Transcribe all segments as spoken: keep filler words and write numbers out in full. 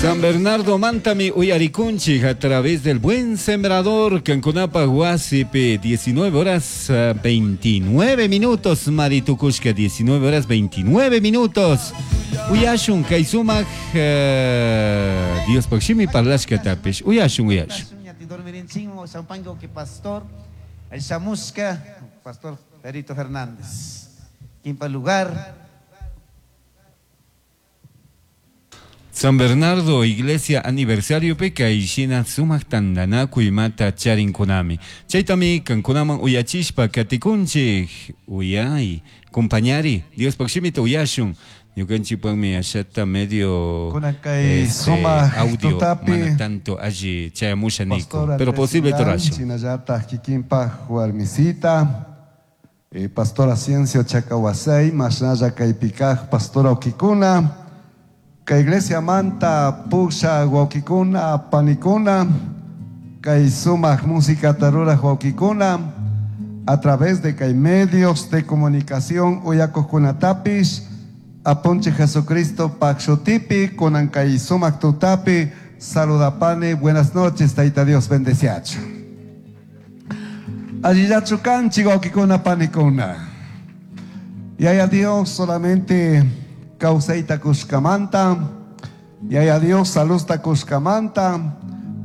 San Bernardo Mantami uyarikunchik a través del Buen Sembrador Kankunapa Huasipi, diecinueve horas veintinueve minutos, Maritukushka, diecinueve horas veintinueve minutos. Uyashun kaysumaq uh, Dios pakshimi parlashka tapish. Uyashun, uyashun. Pastor, el Chamusca, Pastor Perito Fernández. Quinto lugar. San Bernardo, Iglesia Aniversario Pekaishina sumaq tantanakuy mata charinkunami. Chaytami kankunaman uyachishpa katikunchik. Uyay, compañari, Dios pakshimita uyashun. Ñukanchikpaqmi ashata medio este, audio tutapi, mana tanto alli chayamusha niku, Pastor pero Andrés posible Milán, torashun. Shinallata kikinpaj warmisita, eh, Pastora Ciencio Chacahuasay, mashnalla kaypikaj Pastora Okikuna, kay Iglesia Manta, Pusha, Huaquicuna, Panicuna, kay sumaq música tarura Huaquicuna, a través de kay medios de comunicación uyakojkunatapis, aponche Jesucristo Paxotipi, kunan kay sumaq tutapi, saludapane, buenas noches, Taita Dios bendeciacho. Allillachu kanchi, Huaquicuna, Panicuna. Y a Dios solamente causaita kushkamanta, y a Dios salusta kushkamanta,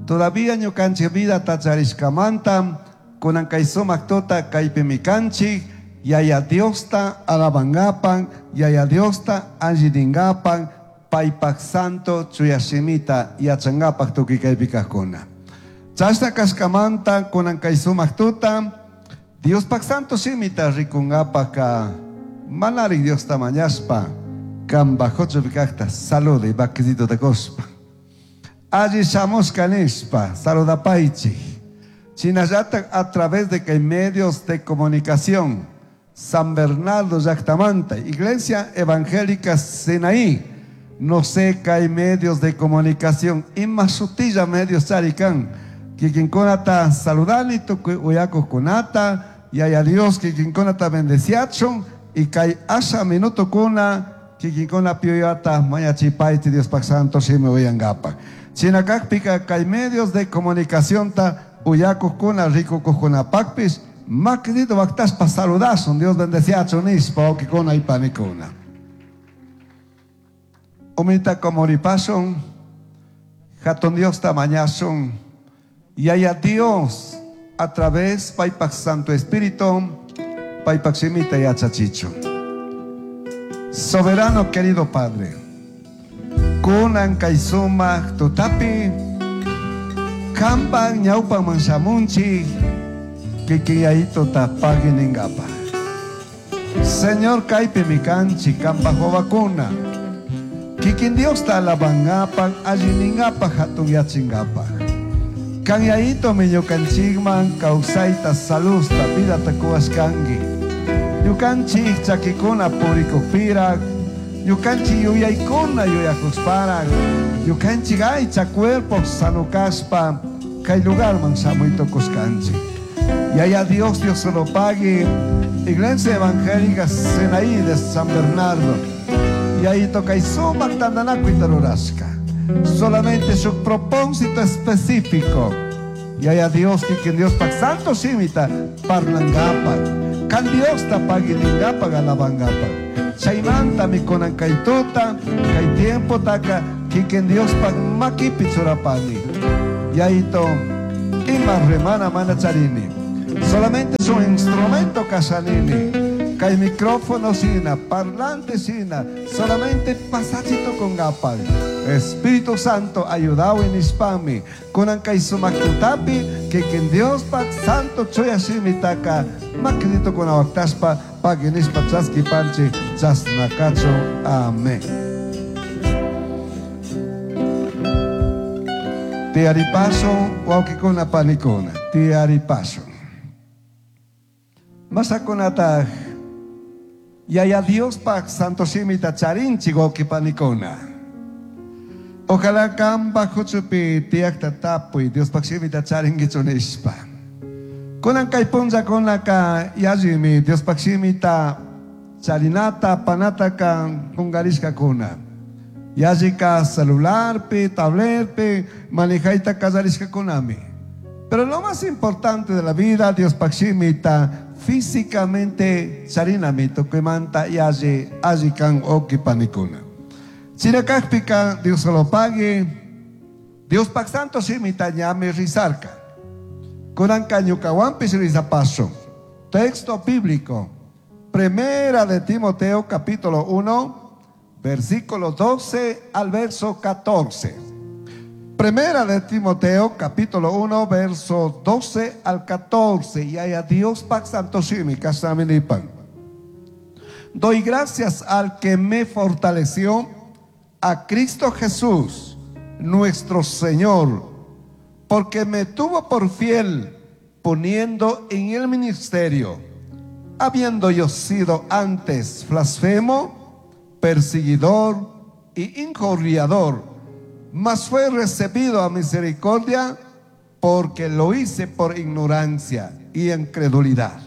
todavía ñukanchi vida tacharishkamanta, kunan kay sumaq tuta kaypi mikanchik, yaya Diosta alabangapan, yaya Diosta alliningapan, paypak santo chuyashimita yachangapak tukuy kaypi kajkuna. Chashna kashkamanta kunan kay sumaq tuta, Diospak santo shimita rikungapaka manari Diosta mañashpa, kamba jocho pikakta salude bakizito de cospa. Allí shamushka nishpa, saludapaichi. Chinallata a través de que medios de comunicación, San Bernardo Llactamanta, Iglesia Evangélica Sinaí, no sé que hay medios de comunicación, y más sutilla medios charicán, kikinkunata saludani, tukuy uyakuj kunata, y hay a Dios kikinkunata bendeciachon, y kay asha minuto kuna, kikinkuna pioyata, mañachipaiti, Dios pak santo, shimi uyangapa. Chinakakpika kay medios de comunicación ta uyakuj kuna, rikukuj kuna pakpis, makdito baktaspa saludasun, Dios bendeciachon nispa, okikuna y panikuna. Umita komoripasun, jaton Dios tamañasun, y haya Dios a través paypak Santo Espíritu, paypak shimita y achachicho. Soberano querido Padre, kunan kaysumaq tutapi, kampan ñawpan manshamunchik, kikiyayito tapagui ningapa. Señor kaypi mikanchik, kampak wawakuna, kikin Dios ta alabangapak, alliningapak, hatun yachingapak. Kanyayito mi ñukanchikman kawsayta, salusta, vida takuwashkanki. Ñukanchik chakikuna purikukpirak, ñukanchik yuyaykuna yuyakushparak, ñukanchik aycha cuerpo sanukashpa, kay lugarman shamuytukushkanchik. Yaya Dios, Dios se lo pague. Iglesia Evangélica Sinaí de San Bernardo. Y ahí toca y suma tandanaku y tarurashka. Solamente su propósito específico. Y haya Dios que quien Dios pa santo shimita parlangapa. Kan Dios ta pagilingapa galabangapa. Chaymanta mi konan kaituta, kay tiempo taka, kiken Dios pa makipi churapani. Y ahí to, ima remana mana charini. Solamente es un instrumento casanini. Kay micrófono sina, parlante sina, solamente pasachito con gapal. Espíritu Santo, ayudao en ispami. Kunan kay sumaktutapi, que quien Dios pak santo choya shimitaka, makidito con awaktaspa, paginispa chaski panchi, chasnakacho. Amén. Tiaripaso, waukikuna panikuna. Tiaripaso. Masakunata, yaya Dios pak santo shimita charinchi wauki panikuna. Ojalá kamba huchupi tiakta tapui Dios pak shimita charingichunishpa. Kunan kay punlla kunaka yallimi Dios pak shimita charinata panata kan kungarishka kuna. Yallika celularpi, tabletpi, manejayta kallarishkakunami. Pero lo más importante de la vida, Dios shimita físicamente charinami tukuymanta yalli alli kan wawki panikuna. Chinakakpika Dios lo pague, Dios pak santo shimita ñami rizarka. Kunanka ñukawanpish rizapaso. Texto bíblico. Primera de Timoteo capítulo uno, versículo doce al verso catorce. Primera de Timoteo capítulo uno, verso doce al catorce. Y haya Dios pak santo shimi kasaminipan. Doy gracias al que me fortaleció, a Cristo Jesús, nuestro Señor, porque me tuvo por fiel, poniendo en el ministerio, habiendo yo sido antes blasfemo, perseguidor y injuriador, mas fue recibido a misericordia porque lo hice por ignorancia y incredulidad.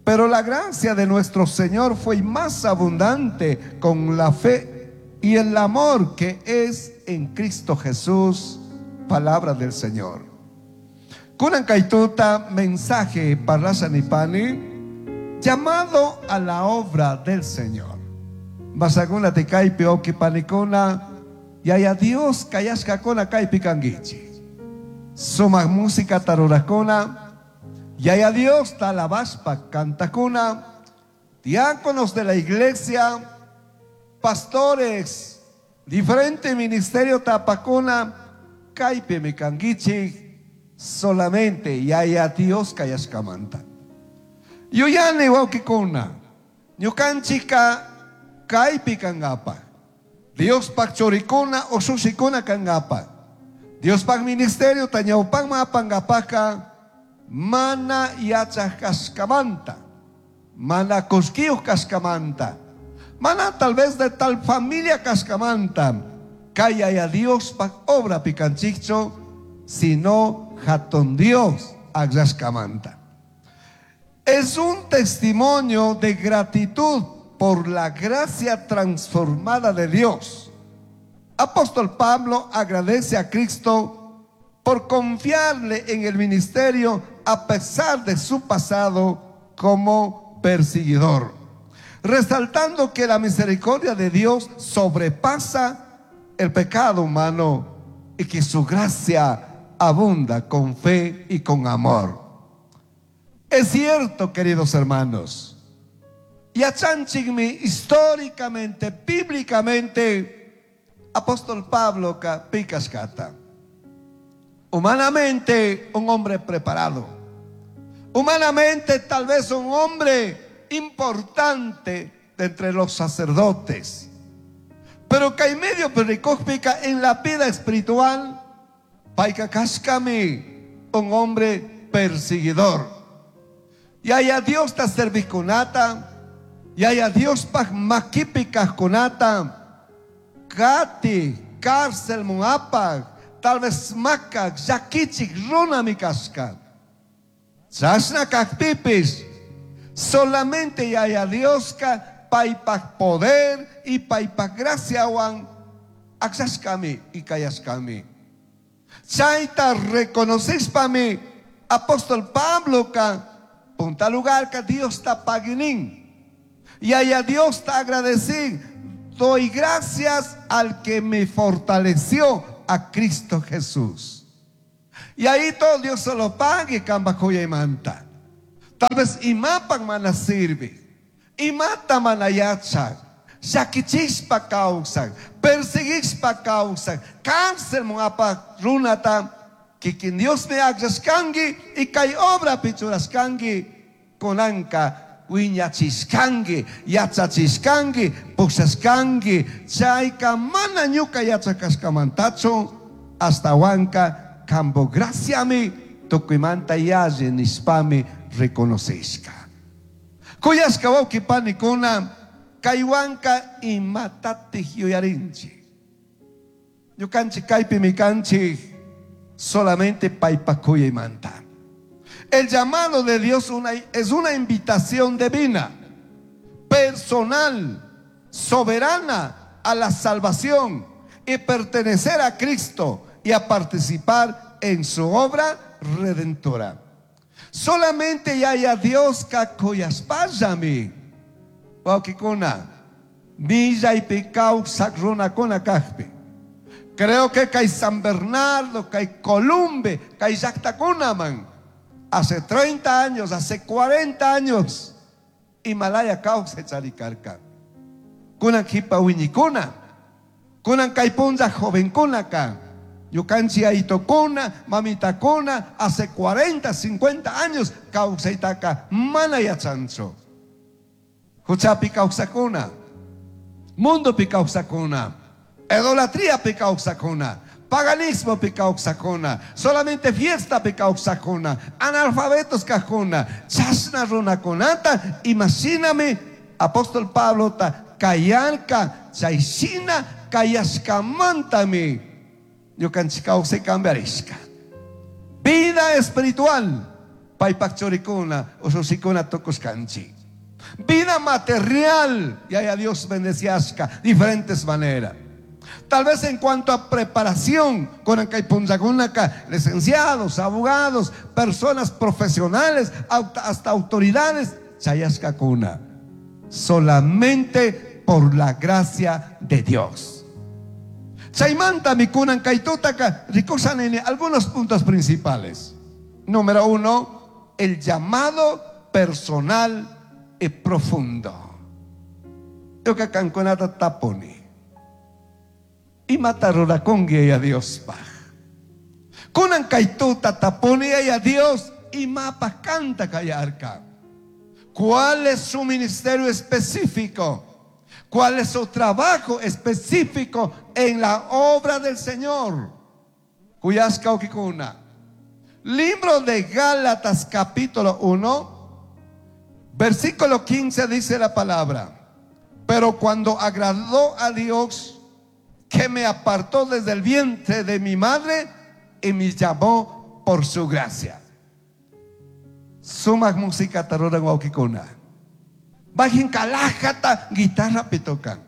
Pero la gracia de nuestro Señor fue más abundante con la fe y el amor que es en Cristo Jesús. Palabra del Señor. Kunan kaituta mensaje para Nipani, llamado a la obra del Señor. Masaguna te kaipi oki panikuna, yaya Dios kayashkakuna kaipi kangichi. Suma música tarurakuna, yaya Dios talabaspa cantakuna, diáconos de la iglesia, pastores, diferente ministerio tapakuna, kaipi mi kangichi, solamente yaya Dios kayashkamanta. Yuyani wawkikuna, ñukanchika kaypi kangapa. Dios pak churikuna ushushikuna kangapa. Dios pak ministerio tañawpakma apangapaka mana yachaj kashkamanta, mana kushkiyuj kashkamanta, mana tal vez de tal familia kashkamanta, kay yaya Dios pak obra pikanchikcho, sino hatun Dios aglashkamanta. Es un testimonio de gratitud por la gracia transformada de Dios. Apóstol Pablo agradece a Cristo por confiarle en el ministerio a pesar de su pasado como perseguidor, resaltando que la misericordia de Dios sobrepasa el pecado humano y que su gracia abunda con fe y con amor. Es cierto, queridos hermanos, yachanchikmi históricamente, bíblicamente, apóstol Pablo pikashkata. Humanamente, un hombre preparado. Humanamente, tal vez un hombre importante de entre los sacerdotes. Pero que en medio pericópica en la vida espiritual, paika kashkami, un hombre perseguidor. Y haya Dios ta servicunata, y haya Dios pa maquipica kunata, kati, cárcel muapa, tal vez maca, yakichik, runa mi casca. Chasna kakpipis, solamente yaya Dios ka paipak poder y paipak gracia wan, aksashkami y kayashkami. Chaita reconoces pa mi, apóstol Pablo ka, punta lugar que Dios está paginin. Y allá Dios te agradecí. Doy gracias al que me fortaleció, a Cristo Jesús. Y ahí todo Dios se lo pague, cambacoya y manta. Tal vez imapan mana sirve. Imata manayacha. Shakichispa causa. Perseguispa causa. Cárcel muapa runata. Que quien Dios me agrascangi y kay obra pichurascangi konanka wiñachiscangi, yachachiscangi, puxascangi, chayka mana ñuka yachacascamantacho hasta huanca cambo graciami tukuymanta yalle nispami reconocisca. Kuyashka wawqi panikuna kaywanka imatatij yuyarinchik. Ñukanchik kaypi mikanchik solamente paypakuyaymanta. El llamado de Dios una, es una invitación divina, personal, soberana a la salvación y pertenecer a Cristo y a participar en su obra redentora. Solamente Yaya Dioska kuyashpallami. Wawkikuna, millaypi kawsak runakuna kakpi. Creo que kay San Bernardo, kay Columbe, kay llaktakunaman, hace treinta años, hace cuarenta años, Himalaya kawsay charikarka. Kunan kipa wiñikuna, kunan kay punlla jovenkunaka, ñukanchik ayitokuna, mamitakuna, hace cuarenta, cincuenta años kawsaytaka mana yachanchu. Huchapi kawsakuna, mundopi kawsakuna, idolatría pi kawsakuna, paganismo pi kawsakuna, solamente fiesta pi kawsakuna, analfabetos kajkuna, chashna runakunata, imashinami apóstol Pablo ta kayarka, chayshina kayashkamantami ñukanchik kawsay cambiarishka. Vida espiritual, paypak churikuna, usushikuna tukushkanchik. Vida material, y a Dios bendeciasca, diferentes maneras. Tal vez en cuanto a preparación, con kay punllakunaka, licenciados, abogados, personas profesionales, hasta autoridades, chayashkakuna. Solamente por la gracia de Dios. Chaymanta mi kunan kaytutaka rikushani algunos puntos principales. Número uno, el llamado personal y profundo. Ñuka kankunata tapuni. Imata rurakungi a Dios paj. Kunan kaytuta tapuni a Dios imapa kanta kayarka. ¿Cuál es su ministerio específico? ¿Cuál es su trabajo específico en la obra del Señor? Kuyashka wawkikuna. Libro de Gálatas capítulo uno, versículo quince dice la palabra: pero cuando agradó a Dios, que me apartó desde el vientre de mi madre y me llamó por su gracia. Sumak música taruran wawkikuna. Bajen kalajata guitarra pitocan.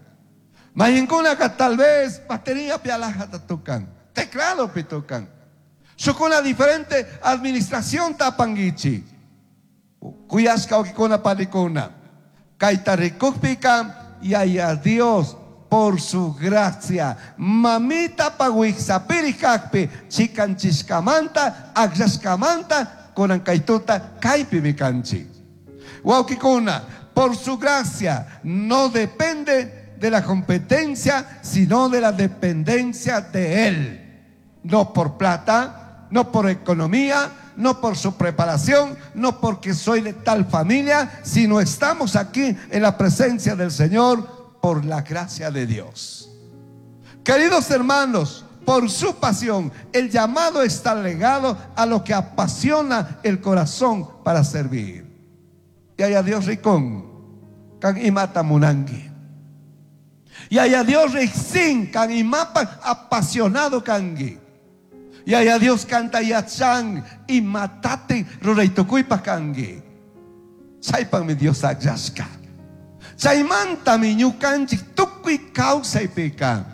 Mayinkuna ka tal vez batería pialajata tocan. Teclado pitocan. Shukuna diferente administración tapangichi. Kuyashka wawkikuna panikuna. Kayta rikukpika yaya Dios por su gracia. Mamita paguixapiri kakpi, chikanchishkamanta, akllashkamanta, kunan kaytuta, kaypi mikanchi. Wawkikuna, por su gracia no depende de la competencia, sino de la dependencia de Él. No por plata, no por economía, no por su preparación, no porque soy de tal familia, sino estamos aquí en la presencia del Señor por la gracia de Dios. Queridos hermanos, por su pasión, el llamado está legado a lo que apasiona el corazón para servir. Y haya Dios ricón, kan imata munangi. Y haya Dios rixin, kan imapa apasionado kangi. Y haya Dios canta yachan y matate ruraitukuipa kangi. Chaypan mi Dios akllashka. Chaymanta mi ñukanchik tukuy kawsaypika.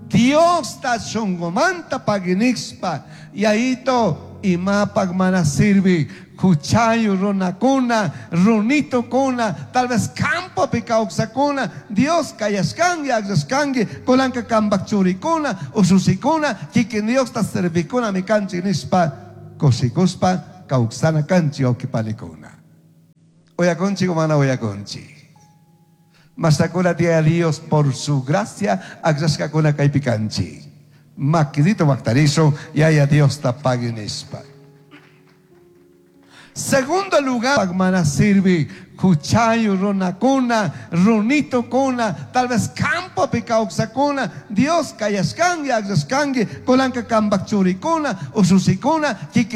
Dios ta shunqumanta paginixpa. Y ahito imapaq mana sirvi. Huchayu runakuna, runitokuna, tal vez campopi kawsakuna, Dios kayashkangi, akllashkangi, kulanka kambak churikuna, ususikuna, kikin Dios ta servikuna mi kanchik nishpa, kushikuspa, kawsana kanchik wawqipanikuna. Uyakunchik o mana uyakunchik. Masakuna tia Dios por su gracia, akllashkakuna kaypi kanchik. Makidito maktarizo, yaya Dios ta pagui nishpa. Segundo lugar, mana sirvi, huchayu runakuna, runitokuna, tal vez campopi kawsakuna, Dios kayashkangi, akllashkangi, kulanka kambak churikuna, ususikuna, kikin